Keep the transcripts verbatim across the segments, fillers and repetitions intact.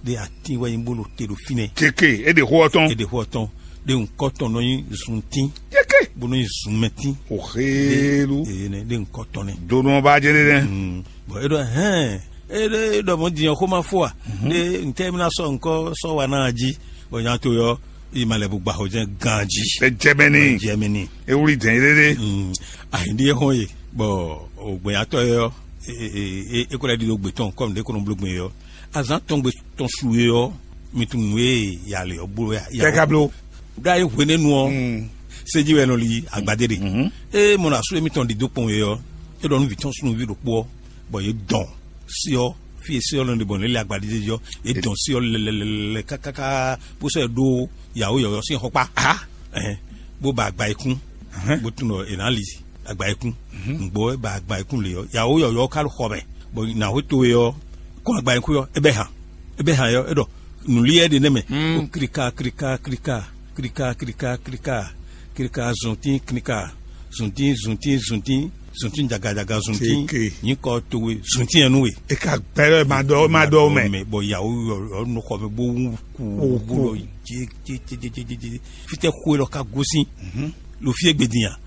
Ɖé atín wɛ nyí bó ɖo te ɖo fínɛ́. Kéké, é ɖe xó ɔ́ tɔn. É ɖe xó ɔ́ tɔn. Ɖé ŋkɔ tɔn nɔ nyí zuntín. Kéké. Bó nɔ nyí zunmɛtín. O xélu. Ee nɛ, ɖé ŋkɔ tɔn nɛ. Donu ɔ́ ba jɛ ɖe nɛ. Bɔn é ɖɔ hɛn, é ɖɔ é ɖɔ mɔ din ɔ́ xó ma fó a? Ɖé ntɛ mi ná sɔ ŋkɔ sɔ wa ná jí, bɔ nya to yɔ yi ma lɛ bu gba xɔ jɛ ganji. Ɛ jɛ mɛ ni. Jɛ mɛ ni. E wuli dɛn yé ɖe. Ayi ɖi e xɔn ye, bɔ ògbɛnyatɔ yɛ ɔ, é kó lɛ ɖi ɖo gbé tɔn kɔmi ɖé kó nɔ bló gbé yɛ ɔ. Azán tɔn gbé tɔn su yɛ ɔ, mi tunun nú e yalɛ ɔ blo ya. Kɛka blo. Ɖó ayi hwenɛ́nu ɔ́, séji wɛ nɔ li agbadé ɖe. Ée mɔ nɔ asú émítɔn ɖi dó kpɔn wɛ ɔ́, é ɖɔ nú vǐ tɔn súnnuví ɖokpó ɔ́, bɔ yě dɔn sí ɔ́, fí e sí ɔ́ nɔ ɖe bɔ nǔ lɛ́ lɛ agbadéjé ɔ́, yě dɔn sí ɔ́ lɛlɛlɛlɛ kákáká, bó sɔ́ ɛ ɖó yǎwó yɔ̌yɔ́ sín xɔkpá. Ɛhɛn, bó ba agba e kún, bó tunwun ɖɔ è nǎ li agba e kún. Nǔgbó wɛ ba agba e kún lě ɔ́, yǎwó yɔ̌yɔ́ ká ɖo xɔ mɛ, bɔ nǎ xwé towe ɔ́, kɔn agba e kún ɔ́, é bɛ́ han, é bɛ́ han ɔ́, é ɖɔ nǔliɛ ɖe nɛ́ mɛ. Ó klika klika klika klika klika klika klika zuntín klika zuntín zuntín zuntín zuntín jaga jaga zuntín. Nyǐkɔ towe zuntín yɛ nú we. E ka gbɛlɛ ma dɔ ma dɔ mɛ. Bɔ yawo yɔ nukɔ mɛ bó wú kú bó lɔ jé jé jé jé jé jé. Fitɛ xwe lɔ ka gosin lo fie gbedin ya.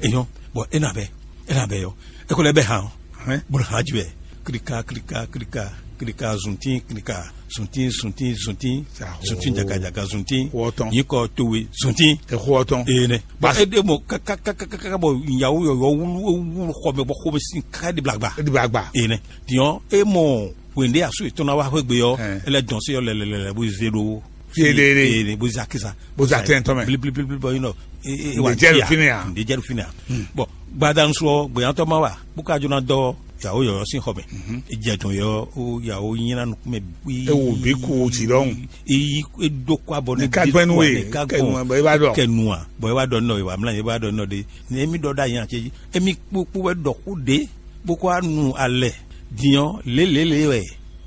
Eyɔn bɔ e na bɛ e na bɛ yɔ e ko lɛ bɛ han. Bolo hã jɛ. Klika klika klika klika zuntin klika zuntin zuntin zuntin zuntin jaka jaka zuntin. Nyikɔ towe zuntin. Exɔ tɔn. Ene. Bɔ e de mɔ kaka kaka kaka bɔ yawo yɔyɔ wulu wulu xɔmɛ bɔ xɔmɛ sin kaka de blagba. De blagba. Ene. Diɔ e mɔ wende asu etɔn na wa xwegbe yɔ. Ele dɔn se yɔ lɛlɛlɛ bo ze ɖo. Fielele. Ene bo ze akisa. Bo ze atɛn tɔn mɛ. Blibli blibli bɔ yin nɔ. Ǹdè jɛ ɖo fínɛ́ a? Ǹdè jɛ ɖo fínɛ́ a? Bɔn gbadanu sɔ gbɛyantɔ ma wa bó ka jona dɔ yawo yɔyɔ sín xɔ mɛ. Ejɛ dɔn yɔ o yawo nyina nukúnmɛ bui. Ewo bí ku o jì lɔhùn. Eyi edo kó abɔ ní ka gbɛnu e kɛnu bɔ e b'a dɔ kɛnu a bɔ e b'a dɔ nɔ e wa mla e b'a dɔ nɔ de. Ní emi dɔ da yan cɛ emi kpokpo wɛ dɔ kó de bó kó anu alɛ diɔ lélele wɛ.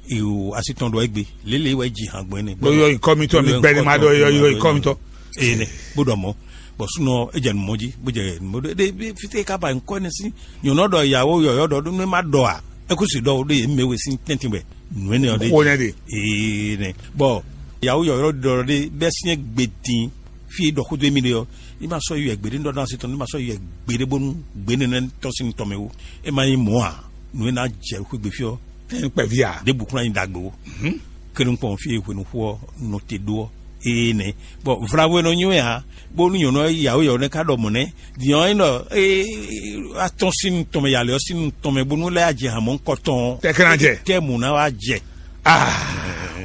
Ewo asi tɔn dɔ egbe lélele wɛ ji hàn gbɛn ne. Bó yɔ ikɔ mi tɔ mi gbɛ ni ma dɔ yɔ yɔ ikɔ mi tɔ. Ene bó dɔ mɔ bɔ sunɔ e jɛ numɔ ji bó jɛ numɔ ɖe ɖe fite ka ba nkɔ ne si nyɔnɔ dɔ yawo yɔyɔ dɔ ɖo ne ma dɔ a eku si dɔ ɖe ye mɛ we si tɛntin bɛ nu ene ɔ ɖe. Xo ne de. Ee ne bɔ yawo yɔyɔ dɔ ɖe bɛ siɲɛ gbe din fi dɔ kudo emi ɖe ɔ ni ma sɔ yɔ gbeɖe dɔ na si tɔn ni ma sɔ yɔ gbeɖe bonu gbe ne ne tɔ si tɔmɛ wo e ma nyi mɔ a nu e na jɛ xwegbe fi ɔ. Tɛn kpɛvi a. De bukuna nyi dagbe wo. Kenu kpɔn fi hwenu xo ɔ nɔ te ɖo ɔ. Ee nɛ bɔn vlavo e nɔ nyo ya bónú nyɔ̌nu ɔ́ yawo yɔ̌ nɛ́ ká ɖɔ mɔ̌ nɛ́. Din ɔ́ é nɔ atɔ́n sín tɔnmɛ yalɛ ɔ́ sín tɔnmɛ bónú lɛ́ ajɛ hǎn mɔ̌hunkɔtɔn. Tɛkɛnajɛ. Tɛ́ mǔ ná wá jɛ. Ah,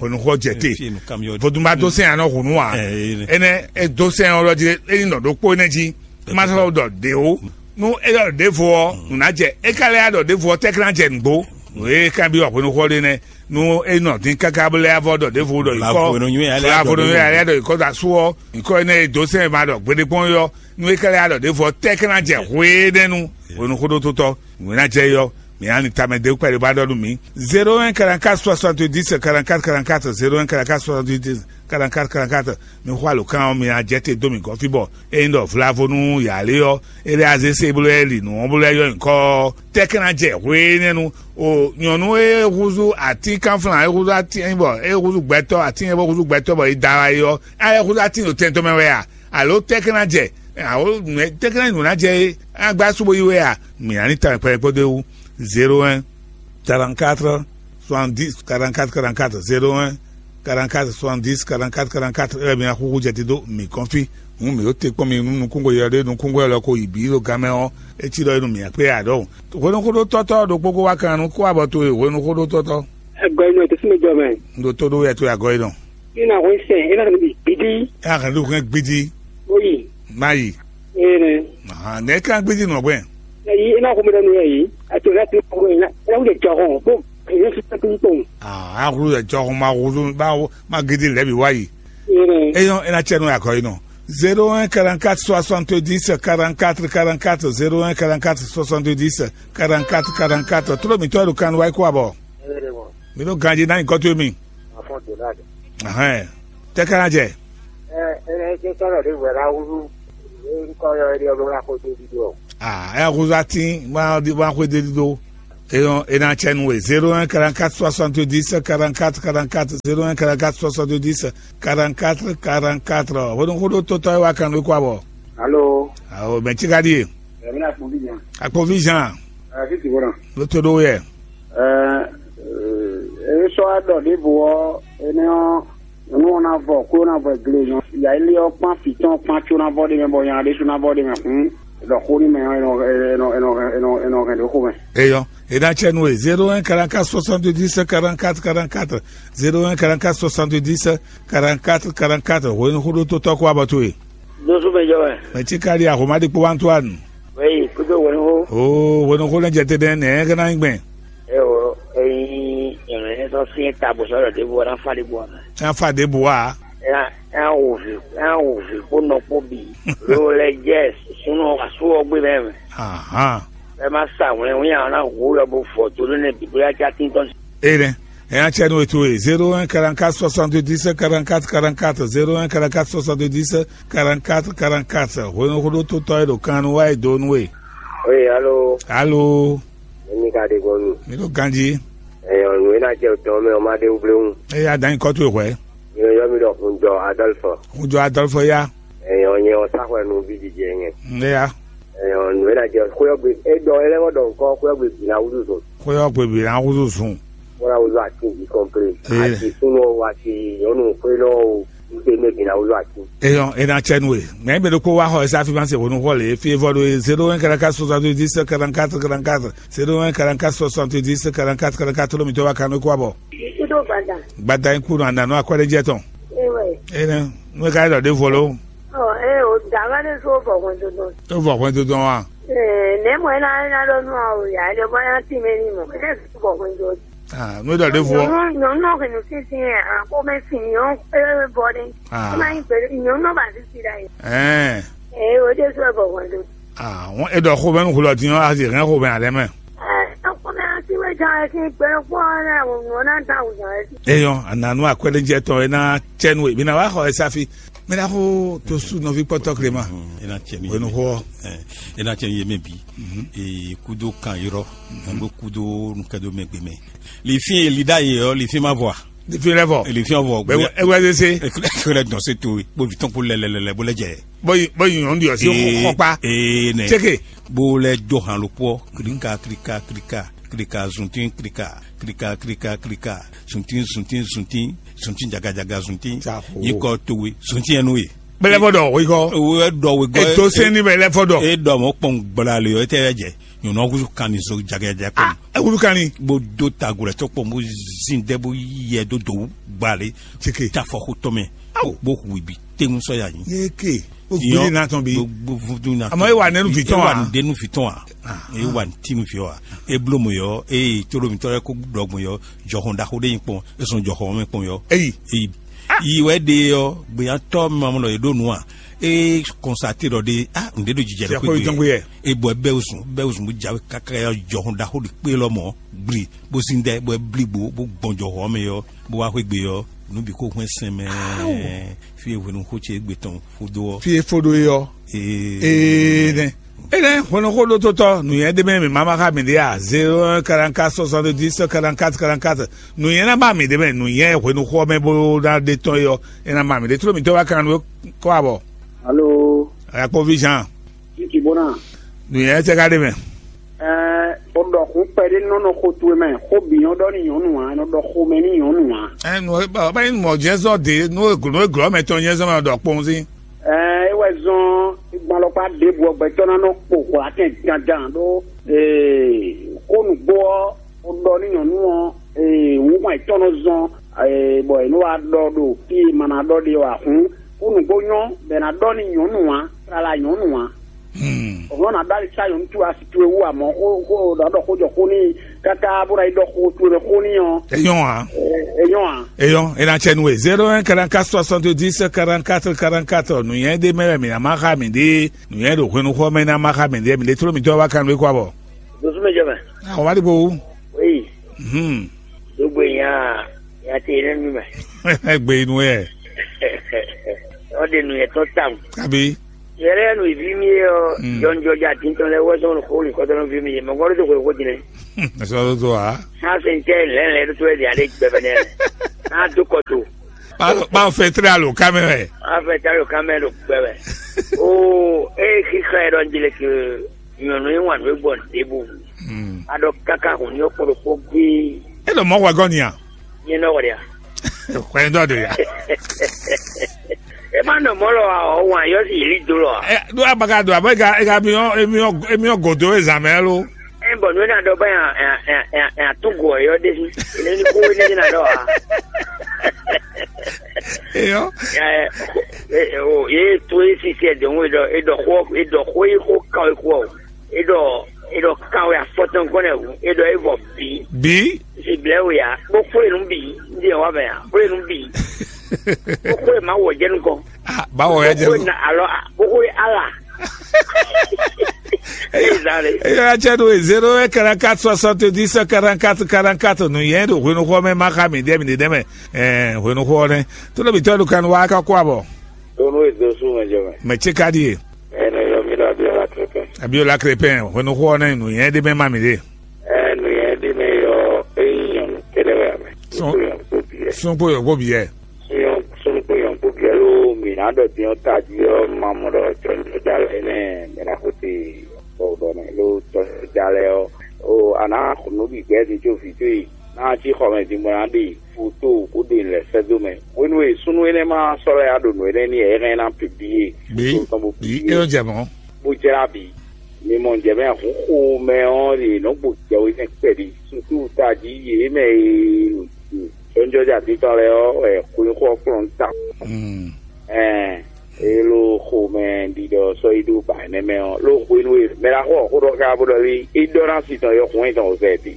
hwenu xɔ jɛ te. Vodunba dó sɛn anɔ hunu wa. Enɛ e dó sɛn ɔlɔ jí é ní nɔ ɖokpó enɛ jí. Má sɔ́ ɖɔ ɖě ó. Nú é ɖɔ ɖěvo ɔ́, nǔ ná jɛ. É ka lɛ́ yá ɖɔ ɖěvo ɔ́, tɛ́ ká ná jɛ nǔgbó. Nǔ e é ka byɔ́ hwenu xɔ ɖé nɛ́. Nú é nɔ dín káká bó lɛ́ yá vɔ ɖɔ ɖěvo ɖɔ yi kɔ. Flavodonyo yɛ alɛ adɔ ɖěvo. Flavodonyo yɛ alɛ adɔ yi kɔ da sú ɔ́. Yi kɔ énɛ́ e dó sɛn ma ɖɔ gbeɖé kpɔ́n é ɔ́, nú é ka lɛ́ adɔ ɖěvo ɔ́, tɛ́ ká ná jɛ hweɖénu. Hwenu xóɖótótɔ́, nǔ e ná jɛ é ɔ́, mǐ ná ni tamɛ dé kpɛɖé bá ɖɔ nú mǐ. Zéro un quarante-quatre soixante-dix quarante-quatre quarante-quatre, zéro un quarante-quatre soixante-dix quarante-quatre quarante-quatre. Mi xɔ alǒkan ɔ́, mi ná jɛ te dó mǐ gɔ́n fí bɔ ényí ɖɔ vlavo nú yǎ lé ɔ́, é lɛ́ azé se bó lɛ́ li nǔ ɔ́ bó lɛ́ yɔ nyǐkɔ ɔ́, tɛ́ ká ná jɛ hweɖénu. O nyɔ̌nu e húzú atínkánflán e húzú atín bɔ é húzú gbɛtɔ́ atín e bó húzú gbɛtɔ́ bɔ è da wá yi ɔ́, a lɛ́ húzú atín ɖo tɛn tɔn mɛ wɛ a? Alo tɛ́ ká ná jɛ? Awo tɛ́ ká ná nǔ ná jɛ é? A gbá sú bó yi wɛ a? Mǐ ná ní ta kpɛɖɛ kpódó é wú. Zéro un quarante-quatre soixante-dix quarante-quatre quarante-quatre, zéro un quarante-quatre soixante-dix quarante-quatre quarante-quatre. Ɛ mi axuxu jɛ te dó mǐ kɔn fí. Hǔn mǐ ɖo te kpɔ́n mi nú nukúngo yɔ ɖé nukúngo yɔ lɔ ko yi bǐ ɖo gan mɛ ɔ́, é cí ɖɔ é nu mǐ akpé ya ɖɔhun. Hwenu xóɖó tɔ́tɔ́ ɖokpó ko wá kan nú kó abɔ towe hwenu xóɖó tɔ́tɔ́. Ẹgbẹ́ inú ẹ̀ tó súnmọ́ jọ mɛ. Un ɖo tó ɖó wɛ towe agɔ é nɔ. Ní na hwɛ sɛ, é ná hɛn bí gbidi. É ná hɛn ɖó hwɛ gbidi. Ó yì. Má yi. Ee nɛ. Ahan, nɛ é ká gbidi nɔ gbɛn. Ɛ yi, é ná xɔmɛ ɖɔ nú ɛ yi. Ɛ tó ná ti kɔ ɛ ná. É ná wúlò jɔ hɔn. Bó ɛ yẹn fi tẹ́tí kpɔn. Ah, a hulu yɛ jɔ hɔn ma hulu ma ma gidi lɛ bi wá yi. Ee nɛ. Eyɔn é ná tsɛ nú akɔ yi nɔ. Zéro un quarante-quatre soixante-dix quarante-quatre quarante-quatre, zéro un quarante-quatre soixante-dix quarante-quatre quarante-quatre. Tró mi tɔ ɖo kan wá yi kó abɔ. Ee nɛ mɔ. Mi ɖo ganji ná nyǐkɔ towe mi. Afɔ Donald. Ahɛn. Tɛ ká ná jɛ. Ɛ ɛ ɛ sɔrɔ de wɛ la wúlú. Ŋkɔ yɔ ɛdi ɔlɔ la ko de di do. Ah, ɛ húzú atín wá wá xwé de di do. Eyɔn, e na cɛ nú we. Zéro un quarante-quatre soixante-dix quarante-quatre quarante-quatre, zéro un quarante-quatre soixante-dix quarante-quatre quarante-quatre. Hwenu xó ɖó tótɔ́ e wá kan nú kó abɔ. Alo. Awo, mɛ ci ka ɖi e? Ɛɛ, mi na kpɔn fí jan. Akpɔn fí jan. Ɛɛ, fí ti bɔna. Ló tó ɖó yɛ. Ɛɛ, e sɔ wá ɖɔ ɖěvo ɔ́, énɛ́ ɔ́, nú ɔ́ ná vɔ kó ná vɔ gle nyɔ. Ya ilé ɔ́ kpán fǐtɔn kpán có ná vɔ ɖé mɛ bɔ nya ɖésú ná vɔ ɖé mɛ hǔn, ɖɔ xó nú mɛ ɔ́, è nɔ è nɔ è nɔ è nɔ è nɔ hɛn ɖě xó mɛ. Eyɔ, e na cɛ nú we. Zéro un quarante-quatre soixante-dix quarante-quatre quarante-quatre, zéro un quarante-quatre soixante-dix quarante-quatre quarante-quatre. Hwenu xó ɖó tótɔ́ kó abɔ towe. Dósú mɛ jɔ wɛ. Mɛ ci ka ɖi ahoma ɖi kpó Antoine. Wɛyi kúdó wɛnúxó. Oo, hwenu xó lɛ́ jɛ te ɖɛn nɛ̌ é ná nyí gbɛn? Eo, eyi nyɔ̌nu énɛ́ tɔn sín ta bó sɔ́ ɖɔ ɖěvo ɔ́ ná fá ɖěvo ɔ́ mɛ. Ná fá ɖěvo ɔ́ ǎ. Ena ena wò vǐ ena wò vǐ kpó nɔ kpó bǐ. Lo lɛ jɛ súnɔ asú ɔ́ gbé mɛ mɛ. Ahan. Ɛ má sa wlɛnwlɛn ɔ́ ná hu yɔ bó vɔ tó lónìí bǐ bóyá já tíntɔ́n. Ene, ɛ nya cɛ nú we towe. Zéro un quarante-quatre soixante-dix quarante-quatre quarante-quatre, zéro un quarante-quatre soixante-dix quarante-quatre quarante-quatre. Hwenu xó ɖó tótɔ́ e ɖo kan nú wá e dó nú we. Oye alo. Alo. Emi ka ɖe gbɔn mi. Mi ɖo ganji. Ɛyɔ nǔ e ná jɛ tɔn mɛ ɔ́ má ɖe wúblewún. Eye adan nyí kɔ towe hwɛ. Mi yɔ mi ɖɔ hunjɔ Adɔlfɔ. Hunjɔ Adɔlfɔ ya. Ɛyɔ nyɛ ɔ sáxɔ nú bí jijɛ nyɛ. Nde ya. Ɛyɔ nǔ e ná jɛ xóyɔgbe e ɖɔ e lɛ́ vɔ ɖɔ nukɔ xóyɔgbe bǐ ná wúzú zun. Xóyɔgbe bǐ ná wúzú zun. Bó ná wúzú atín bǐ kɔnplé. Ee. Ati súnú o, ati nyɔ̌nu xwélɔ́ o, ite mɛ bǐ ná wúzú atín. Eyɔn, e na cɛ nú we. Mɛ bɛ ɖokpó wá xɔ esa fi ma se hwenu xɔ le fi vɔ ɖo zéro un quarante-quatre soixante-dix quarante-quatre quarante-quatre, zéro un quarante-quatre soixante-dix quarante-quatre quarante-quatre. Lómi tó wá kanú kó abɔ. Kudo gbada. Gbada in kunu ananu akwɛɖe jɛ tɔn. Ewe. Ene, nú e ka ɖɔ ɖe vɔ lo. Ɔ, e o dama ɖe so vɔ hwɛndo dɔn. E vɔ hwɛndo dɔn wa. Ɛɛ, nɛ mɔ ena ena ɖɔ nú awo ya, ele bɔ ya ti mɛ ni mɔ. Ele so vɔ hwɛndo. Ah, nú e ɖɔ ɖe vɔ. Nyɔnu nyɔnu nɔ hwenu sinsin yɛ, a ko mɛ sin nyɔ e bɔ ɖe. Ah. Kuma yin gbɛ nyɔnu nɔ ba sisi ɖa yi. Ɛɛ. Ee, o de so vɔ hwɛndo. Ah, wọn e ɖɔ xomɛ nu xulɔ din ɔ, a si hɛn xomɛ alɛ mɛ. Ɛɛ, ko mɛ asi wɛ jan ɛ sin gbɛ kpɔ ɛ wɔ nɔ na da wuzan ɛ. Eyɔn, ananu akwɛɖejɛ tɔn e na cɛ nu e mi na wa xɔ ɛ safi. Mi na xo to su nɔvi kpɔtɔ klema. E na cɛ nu. Wenu xɔ. E na cɛ nu ye mɛ bi. E kudo kan yɔrɔ. Ɛgbe kudo nukɛdo mɛ gbe mɛ. Li fi li da ye ɔ, li fi ma vɔ. Li fi lɛ vɔ. Li fi vɔ. Bɛ ewɛ de se. Ekele dɔn se to. Bo vi tɔn ko lɛlɛlɛ bo lɛ jɛ. Bɔ yi bɔ yi nyɔnu di ɔ si xɔkpa. Ee nɛ. Tseke. Bo lɛ do han lo kpɔ. Klika klika klika klika zuntin klika klika klika klika zuntin zuntin zuntin zuntin jagajaga zuntin. Yi kɔ towe zuntin yɛ nu ye. Bɛlɛ fɔ dɔ o yi kɔ. Ewe dɔ we gɔ. Eto sɛn ni bɛlɛ fɔ dɔ. E dɔ mɔ kpɔn gbla le yɔ e tɛ yɛ jɛ. Nyɔnu ɔkusu kan ni so jagajaga kpɔn. Ah, ewulu kan ni. Bo do tago lɛ tɔ kpɔn bo zin dɛ bo yɛ do do gba le. Tseke. Tafɔ xotɔ mɛ. Awo. Bo hu ibi tenu sɔ ya nyi. Ye ke. O gbili na tɔn bi. Bo bo vudu na. Àmọ́ e wà nínú fìtọ́ wa. E wà nínú fìtọ́ wa. E wà ní tínú fi wa. E blo mo yɔ. E tolo mi tɔrɛ ko dɔgbɔn yɔ. Jɔhɔn ɖaxó ɖe nyi kpɔn. E sɔn jɔhɔn mɛ kpɔn yɔ. Eyi. Eyi. Yi wɛ ɖe yɔ. Gbeyatɔ ma mɔ lɔ ye ɖo nu a. E kɔnsate ɖɔ ɖe a ǹdɛ ɖo jijɛ ɖe ko ye. E bɔ bɛ osun bɛ osun bo jawe kaka yɔ jɔhɔn ɖaxó ɖe kpe lɔ mɔ gbli bo sin dɛ bo bli gbo bo gbɔn jɔhɔn mɛ yɔ. Bó wá xwé gbe ɔ́, nǔ bǐ kó hwɛ́n sɛn mɛ. Fí e hwenu xó ce égbé tɔn fó dó ɔ́. Fí e fó ɖó é ɔ́. Ee. Ee nɛ. Enɛ hwenu xó ɖó tótɔ́ nǔnyɛ ɖé mɛ mǐ má má xá mǐ ɖé a? Zéro un quarante-quatre soixante-dix quarante-quatre quarante-quatre. Nǔnyɛ ná má mǐ ɖé mɛ nǔnyɛ hwenu xó ɔ́ mɛ bó ná ɖe tɔn é ɔ́, é ná má mǐ ɖé. Tló mǐtɔn wá kan nú kɔ abɔ. Alo. Akpɔví Jean. Titi bona. Nǔnyɛ tɛ ka ɖe mɛ. Ɛɛ, o ɖɔ xun kpɛɖé nɔ nɔ xo towe mɛ, xó bǐ nyɔ ɖɔ ni nyɔnu ǎ, nɔ ɖɔ xomɛ ni nyɔnu ǎ. Ɛ nɔ ba ba yin mɔ jɛnsɔ de nɔ eglo nɔ eglo mɛ tɔn jɛnsɔ mɛ ɖɔ kpɔn si. Ɛɛ, e wɛ zɔn gbalɔkpa ɖěbǔ ɔgbɛtɔ ná nɔ kpo hwlatɛn dandan ɖó ee xó nǔgbó ɔ́, o ɖɔ ni nyɔnu ɔ́ ee wǔ hwan yětɔn nɔ zɔn ee bɔ è nɔ wá ɖɔ ɖo fí e ma ná ɖɔ ɖe ɔ́ ǎ hǔn, xó nǔgbó nyɔ bɔ è nǎ ɖɔ ni nyɔnu ǎ, tlala nyɔnu ǎ. Ɔ̀hún ɔ́ nǎ ɖó ali sá nyɔ̌nu towe asi towe wú ǎ mɔ̌ xó xó ɖɔ ɖɔ xó jɔ xó n'i káká bó ná yi ɖɔ xó towe mɛ xó n'i ɔ́. É nyɔ́ ǎ. É nyɔ́ ǎ. É nyɔ́, é ná cɛ nú we. Zéro un quarante-quatre soixante-dix quarante-quatre quarante-quatre. Nǔnywɛ́ ɖé mɛ wɛ mǐ ná má xá mǐ ɖe. Nǔnywɛ́ ɖo hwenu xɔ mɛ ná má xá mǐ ɖe. Mǐ ɖe tló mǐtɔn wá kan nú é kó abɔ. Dosúmɛ jɔ mɛ. Àwọn wá dìbò wú. Oui. Hmm. Dogbe nya nya te ne mi mɛ. Egbe inú ɛ. Ɔde nu yɛ tɔn tam. Kabi. Yɛrɛ nu ivi mi yɛ ɔ. Hmm. Jɔnjɔja tintɔ lɛ wɛ sɔn xo ni kɔtɔ nu vi mi yɛ mɛ gbɔdɔ to xo xo dinɛ. Sɔ́ tó a? Sá se ŋkɛ lɛ̌nlɛ̌n ɖó tó wɛ ɖi aɖé gbɛvɛ nɛ. Ná dó kɔ tó. Báwo fẹ́ tlẹ́ alo ká mɛ wɛ? Á fẹ́ tá ló ká mɛ ɖo gbɛ wɛ. Oo, ée xixa ɛ ɖɔ un jle ke nyɔ̌nu e wan nǔ e gbɔ ɖěbǔ. A ɖɔ káká hǔn ní ɔ́ kpó ɖokpó gbé. É ɖo mɔ̌ hwɛ gɔ́ ni a? Nyɛ nɔ wɛ ɖe a? Hwɛ dɔ ɖe ya. E ma nɔ mɔ̌ lɔ a, ɔ́ wan yɔ si yě lí dó lɔ a? Ɛ ɖó abaga ɖo abɔ ega ega miɔ emiɔ emiɔ godo e zan mɛ lo. Ɛ bɔ nǔ e ná ɖɔ bɔ nya nya nya nya nya tún go ɔyɔ ɖe sí. Ene ní kó ene ní ná ɖɔ a? Eyɔ. Ɛ ɛ o ye to e sisi ɛ dɔn e ɖɔ e ɖɔ xó e ɖɔ xó yi xó kan e kú ɔ e ɖɔ e ɖɔ kan wɛ afɔtɔn gɔn ɛ wu e ɖɔ e vɔ bi. Bi. Si blɛ wo ya kpó kpó enu bi ndi ɛ wa mɛ ya kpó enu bi. Kpó kpó e ma wɔ jɛnu kɔn. Ah, ba wɔ ya jɛnu. Kpó na alɔ kpó kpó e ala. Eya cɛ ɖo zéro un quarante-quatre soixante-dix quarante-quatre quarante-quatre nu yɛn ɖo hwenu xɔ mɛ ma xa mi ɖe mi ɖe mɛ. Ɛɛ hwenu xɔ nɛ. Tó lóbi tɔ́ ɖo kan wa ka kó abɔ. Ɖo nú èdè sú mɛ jɔ mɛ. Mɛ tse ka ɖi e. Ɛnɛ yɔ mi ɖo Abiola Krépin. Abiola Krépin hwenu xɔ nɛ nu yɛn ɖe mɛ ma mi ɖe. Ɛɛ nu yɛn ɖe mɛ yɔ eyi nyɔnu kɛɖɛ wɛ mɛ. Sún kpo yɔ kó bi yɛ. Sɔnyɔn sɔnyɔn kpo yɔn kpo gɛlɛ o mi na ɖɔ diɔ taji ɔ ma mɔ ɖɔ tɔjɔ da lɛ nɛ mɛ na ko te bɔ bɔ mɛ lo tɔjɔ da lɛ ɔ o ana xunu bi gbɛ di tso vi to yi na ti xɔ mɛ di mo na ɖe foto ko ɖe lɛ sɛ do mɛ wenu e sunu enɛ ma sɔ lɛ ya ɖo nɔ enɛ ni ɛ hɛn na publie. Bi bi e yɔ jɛ mɔ. Bó jra bi mi mɔ jɛ mɛ huxo mɛ ɔ ɖe nɔ gbo jɛ o nɛ kpɛɖi susu taji yě mɛ e Sɔ́njɔ́ jɛ atitɔn lɛ́ɛ ɔ́ wɛ xweyíxɔ ɔ́ kplɔ́n ta. Ɛɛ, é ló xomɛ ɖiɖɔ sɔ́ yi ɖó ba nɛ́ mɛ ɔ́, ló xwenu e mɛ ɖaxó ɔ́ xó ɖɔ ká bó ɖɔ lé, é ɖɔ ná si tɔn yɔ xun e tɔn o zɛ bi.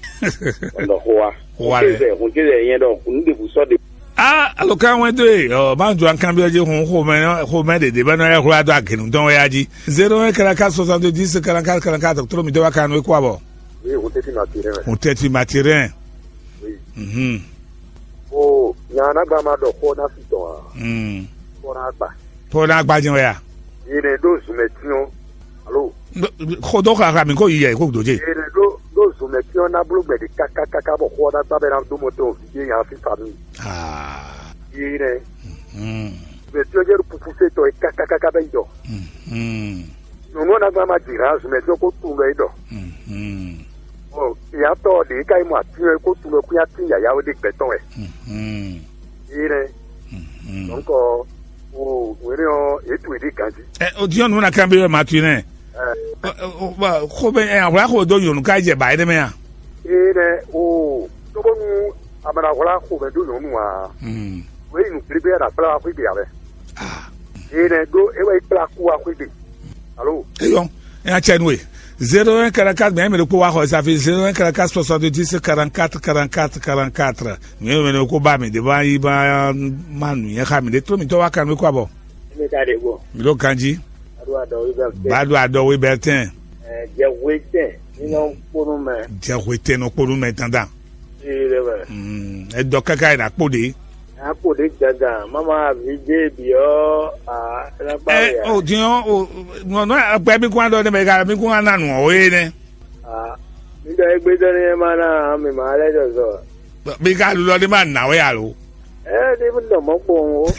Ɔndɔ xó wa. Xó wa lɛ. Xun ce zɛ nyɛ ɖɔ nǔ ɖěbǔ sɔ́ ɖe. Ah, alokan wɛn dó e ɔ má jɔ kanbyɔ jí hun xomɛ xomɛ ɖeɖe bɛ nɔ yɛ xwlá dó agenu tɔn wɛ ya jí. Zéro un quarante-quatre soixante-dix quarante-quatre quarante-quatre, tró mi dó wá kanu é kó abɔ. Oui, vous êtes maturé. Vous êtes maturé. Oui. Mhm. O nya anagba ma ɖɔ xó ná fi tɔn a? Mm. Xó ná gba. Xó ná gba jɛn wɛ a? Yìnbọn ɖó zumɛtiɔn. Alo. Xó dó xaxa mi kó yi yɛ kó dó dze. Yìnbọn ɖó ɖó zumɛtiɔn ná bló gbɛɖe kákákáká bɔ xó ná gba bɛ ná dó mɔ tɔn vi dé nya fi fami. Aa. Yìnbọn. Mm. Zumɛtiɔn jɛ ɖo pupu fé tɔ yi kákákáká bɛ yi dɔ. Mm. Nyɔ̌nu ɔ́ ná gbɔn ná ma jǐ hǎn zumɛjɔ kó tunwun ɖɔ é ɖɔ. Bɔ ìyátɔ́ ɔ́ ɖě ká yi mɔ atín ɔ́ é kó tunwun ɖɔ kún nyi atín yǎyá wé ɖé gbɛtɔ́ wɛ. Énɛ́. Dɔ̌nkɔ o wěné ɔ́, yě tunwun yě ɖi ganjí. Ɛ o diɔ nǔ na kan bí wɛ ma tui nɛ. Ɛ, xo bɛ ɛ ahwla xo do nyɔnu ká jɛ ba yɛ ɖe mɛ a? Énɛ́ o tóbónú a ma ɖo ahwla xo mɛ dó nyɔ̌nu ǎ. Wě yi nǔ gblígbí wɛ ɖo akplá wá xwé gbe ǎ wɛ. Énɛ́ ɖó é wɛ yi kplá kú wá xwé gbe. Alo. Eyɔn, ɛ atsɛ nue. Zéro un quarante-quatre, mais mɛ ɖokpó wa xɔ safi zéro un quarante-quatre soixante-dix quarante-quatre quarante-quatre quarante-quatre. Mɛ mɛ ko ba mi de ba yi ba ma nu yɛ xa mi de tro mi tɔ wa kan mi ko abɔ. Mi ka de go. Mi ɖo ganji. Ado adɔ wi bɛ. Ba do adɔ wi bɛ tɛn. Jɛ wi tɛn. Ni nɔ kponu mɛ. Jɛ wi tɛn nɔ kponu mɛ dandan. Ee ɖe mɛ. Edɔ kaka yi na kpo de. Akpo ɖe dandan mama avi dé bi ɔ a lakpa Ɛ ya. O din ɔ o nɔ nɔ akpɛ mi kún adɔ ne mɛ ka mi kún ana nù ɔ ye nɛ. Ah, mi dɔ egbe dɔ ne ma na mi ma lɛ dɔ zɔ. Mi ka lulɔ ne ma na wɛ alo. Ɛ ne mi dɔ mɔ kpɔn o.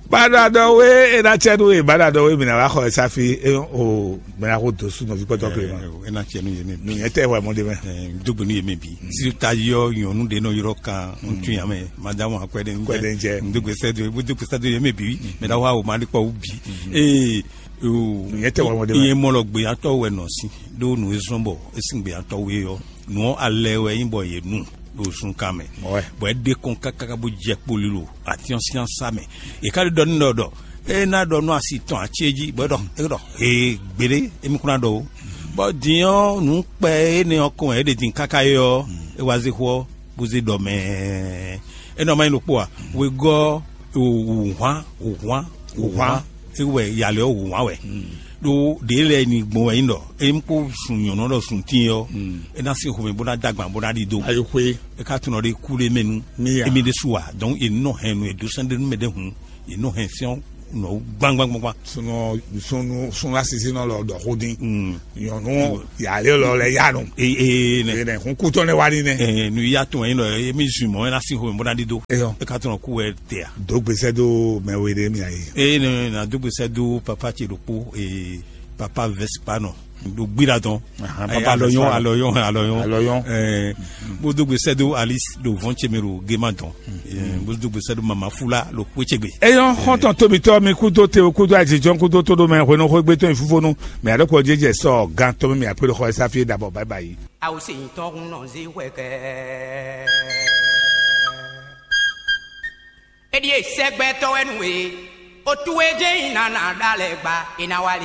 Bado adɔ we ena tsɛ nu e bado adɔ we mina wa xɔ esafi e o mina ko dosu nɔvi kpɔtɔ kele ma. Ena tsɛ nu ye mi. Nu yɛ tɛ wɛ mɔ de mɛ. Dogbe nu ye mi bi. Si ta yɔ nyɔnu de nɔ yɔrɔ kan ŋutsu ya mɛ madamu akwɛ de ŋjɛ. Kwɛ de ŋjɛ. Dogbe sɛ do dogbe sɛ do ye mi bi. Mɛ da wa o ma de kpɔ wu bi. Ee. Nu yɛ tɛ wɛ mɔ de mɛ. Iye mɔ lɔ gbeyatɔ wɛ nɔ si do nu ezɔn bɔ esi gbeyatɔ we yɔ. Nǔ ɔ́ alɛ wɛ nyí bɔ yě nu ɖo zunkan mɛ. Bɔ é ɖe kɔn káká bó jɛ kpoli ɖo atyɔ́nsínsá mɛ. È ká ɖi ɖɔ n'i ɖɔ ɖɔ é ná ɖɔ nú asi tɔn ací é jí, bɔ é ɖɔ é ɖɔ hee gbeɖé émí kún ná ɖɔ ó. Bɔ din ɔ́, nǔ kpɛ énɛ́ ɔ́ kɔn wɛ é ɖe din káká é ɔ́, é wá zé xó ɔ́, bó zé ɖɔ mɛ. É nɔ ma nyí ɖokpó a? Wegɔ́ wǔhwan wǔhwan wǔhwan é wɛ yalɛ ɔ́ wǔhwan wɛ. Ɖó ɖě lɛ́ɛ ni gbɔn wɛ nyí ɖɔ é kó sun nyɔ̌nu ɖɔ sun tíin ɔ́, é ná sín xomɛ bó ná dó agban bó ná ɖidó. Ayi xwé. É ká tunɔ ɖe kú ɖé mɛ nú Mía. Émí ɖésú a? Donc è nɔ hɛn nú è dó sɛ́n ɖé nú mɛ ɖé hǔn, è nɔ hɛn sɛ́n ɔ́ nɔ gbangbangbangban. Sunɔ sunu sunu asisi nɔ lɔ dɔ xó dín. Nyɔnu yàrá lɔ lɛ yanu. Ee ee nɛ. Ee nɛ hun kutɔ ne wa ni nɛ. Ee nu ya tɔn yin nɔ emi zun mɔ ena si xo mi bɔ na ɖi do. Eyɔ. E ka tɔn ku wɛ te a. Dogbe sɛ do mɛ we ɖe mi ayi. Ee nɛ na dogbe sɛ do papa ce ɖokpo ee papa Vespa nɔ. Ɖo gbira dɔn. Papa alɔyɔn alɔyɔn alɔyɔn. Alɔyɔn. Ɛɛ bó dogbe sɛ do Alice ɖo vɔn ce mi ɖo gema dɔn. Ɛɛ bó dogbe sɛ do mama fula ɖo kpé ce gbe. Eyɔn xɔntɔn tóbitɔ mi kúdó te kúdó ajijɔn kúdó tó ɖo mɛ hwenu xwégbé tɔn fúfónú mɛ alɔkɔ jẹjẹ sɔ gan tɔn mi akpé xɔ ɛsá fie dabɔ bye bye. Awo se nyitɔ hun nɔ ze hwɛ kɛ. Eɖi e sɛgbɛtɔ wɛ nu e. Otu e jɛ yi nana ɖalɛ gba e na wa